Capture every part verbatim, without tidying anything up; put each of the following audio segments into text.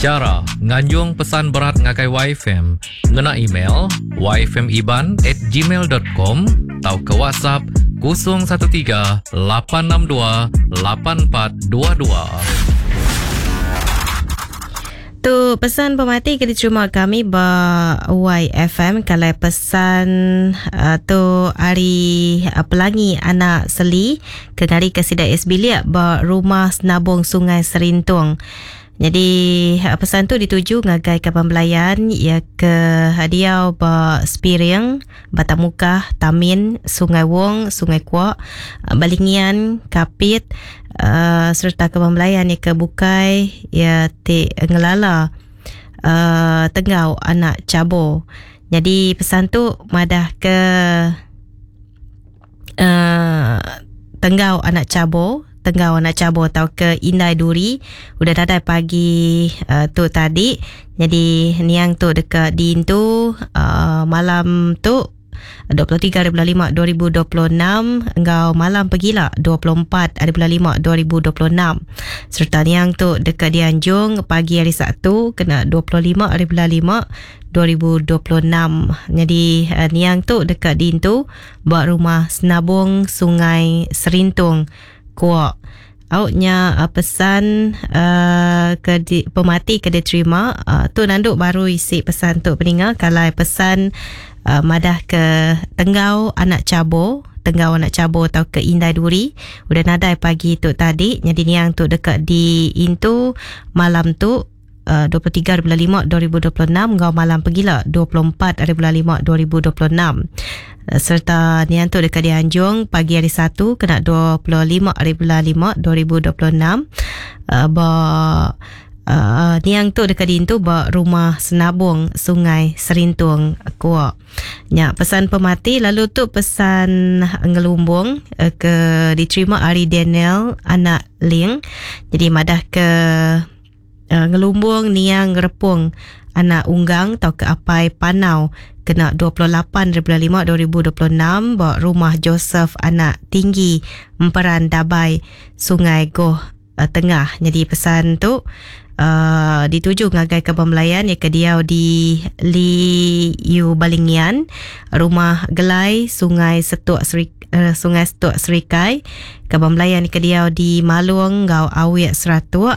Chara nganjung pesan berat ngagai Y F M ngena email y f m iban at gmail dot com atau ke WhatsApp kosong satu tiga lapan enam dua lapan empat dua dua. Tu pesan pemati ke diterima kami ba Y F M. Kalau pesan uh, tu hari uh, Pelangi Anak Seli ke ngari ke sida S Bilik ba rumah Senabung Sungai Serintung. Jadi pesan tu dituju ngagai kaban belayan ya ke hadiah ba Spiring, Batamukah, Tamin, Sungai Wong, Sungai Kuak, Balingian, Kapit, uh, serta kaban belayan ya ke Bukai ya ti ngelala uh, Tenggau Anak Cabo. Jadi pesan tu madah ke uh, Tenggau Anak Cabo, Tenggau Anak Cabo atau ke Indai Duri udah datai pagi uh, tu tadi. Jadi niang tu dekat diintu uh, malam tu dua puluh tiga hari bulan lima dua ribu dua puluh enam engkau malam pergilah dua puluh empat hari bulan lima dua ribu dua puluh enam. Serta niang tu dekat dianjung pagi hari Sabtu kena dua puluh lima hari bulan lima dua ribu dua puluh enam. Jadi uh, niang tu dekat diintu buat rumah Senabung Sungai Serintung Kuak. Auknya uh, pesan uh, ke di, pemati ke diterima uh, tu nanduk baru isi pesan tu peninga. Kalau pesan uh, madah ke Tenggau Anak Cabo, Tenggau Anak Cabo atau ke Indai Duri udah nadai pagi tu tadi. Jadi niang tu dekat di intu malam tu uh, dua puluh tiga hari bulan lima dua ribu dua puluh enam ngau malam pergilah dua puluh empat hari bulan lima dua ribu dua puluh enam. Serta nian tu dekat dianjung pagi hari Satu kena dua puluh lima hari bulan lima dua ribu dua puluh enam. Uh, ba uh, niang tu dekat diintu ba rumah Senabung Sungai Serintung Kuak. Nya pesan pemati. Lalu tu pesan ngelumbung uh, ke diterima hari Daniel Anak Ling. Jadi madah ke uh, ngelumbung niang ngerepung anak unggang atau ke apai panau kena dua puluh lapan hari bulan lima dua ribu dua puluh enam ba rumah Joseph Anak Tinggi Emperan Dabai Sungai Goh uh, Tengah. Jadi pesan tu uh, dituju ngagai ke pembelayan ya ke diau di Li Yu Balingian, rumah Gelai Sungai Setuk Seri, uh, Sungai Setuk Serikai, ke pembelayan ke diau di Malung ngau Awik Seratuk.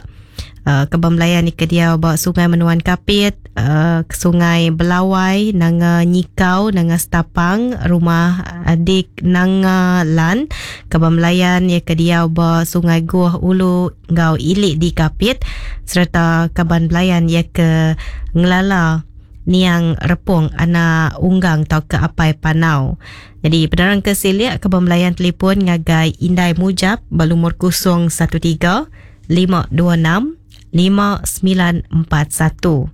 Uh, kebam belayan ni ke dia ba Sungai Menuan Kapit, uh, Sungai Belawai, Nanga Nyikau, Nanga Setapang, rumah Adik Nanga Lan. Kebam belayan ya ke dia ba Sungai Guh Ulu ngau Ilik di Kapit, serta kaban belayan ya ke Ngelala Niang Repung Anak Unggang atau ke Apai Panau. Jadi penerang ke siliak kebam belayan telefon ngagai Indai Mujab balumur kosong satu tiga lima dua enam lima sembilan empat satu.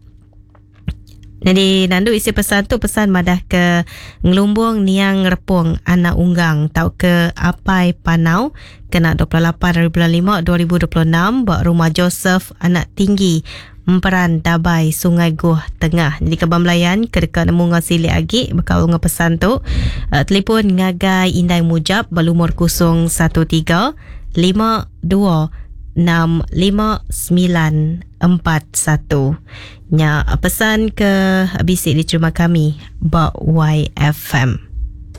Jadi nandu isi pesan tu pesan madah ke ngelumbung niang repung anak unggang tau ke Apai Panau kena dua puluh lapan hari bulan lima dua ribu dua puluh enam ba rumah Joseph Anak Tinggi Emperan Dabai Sungai Goh Tengah. Jadi kebam belayan ke dekat nemu ngau silik agi bekau ngau pesan tu uh, telefon ngagai Indai Mujab balumur kosong satu tiga lima dua enam lima sembilan empat satu. Nya pesan ke bisik diterima kami ba Y F M.